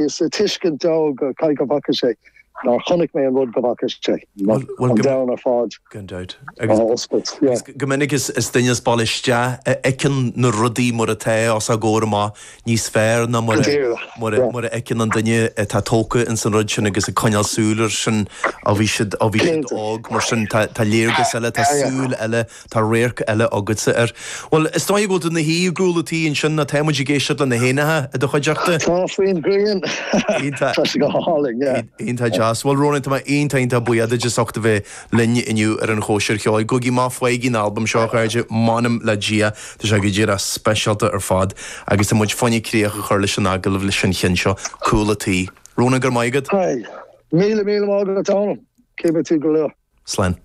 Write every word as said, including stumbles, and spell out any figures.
Is tuiscint dó go cai go bhfaca sé nár chonaic mé an rud go bhfaca sé an domhan ar fad gan dabht agus go minic is is duine as baile isteach a fheiceann na rudaí mar atá os ár gcomhair amach níos fearr ná mar mar mar a fheiceann an duine atá tógtha ins an rud sin agus ag coinneáil súil air sin ó bhí siad ó bhí siad óg mar sin tá tá léargas eile tá súil eile tá radharc eile agatsa air. Bhuel is dóigh go bhfuil tú ina shuí i gcúl an tí ansin nó tá muid ag éisteacht le na héanacha i do chuideachta. Tá faoin ghrian Tá sé go hálainn yeah. Iontach deas. Bhuel Ronan tá mé iontach iontach buíoch duit as ucht a bheith linn inniu ar an Chóisir Cheoil. Gabhaigí amach faighigí an albam seo a chairde, m'anam le Dia, tá sé go díreach speisialta ar fad agus tá muid fá choinne críoch a chur leis an agallamh leis an cheann seo, Cúl an Tí. Ronan go raibh maith agat. Míle míle maith agat Dónal, cífidh tú go luath. Slán.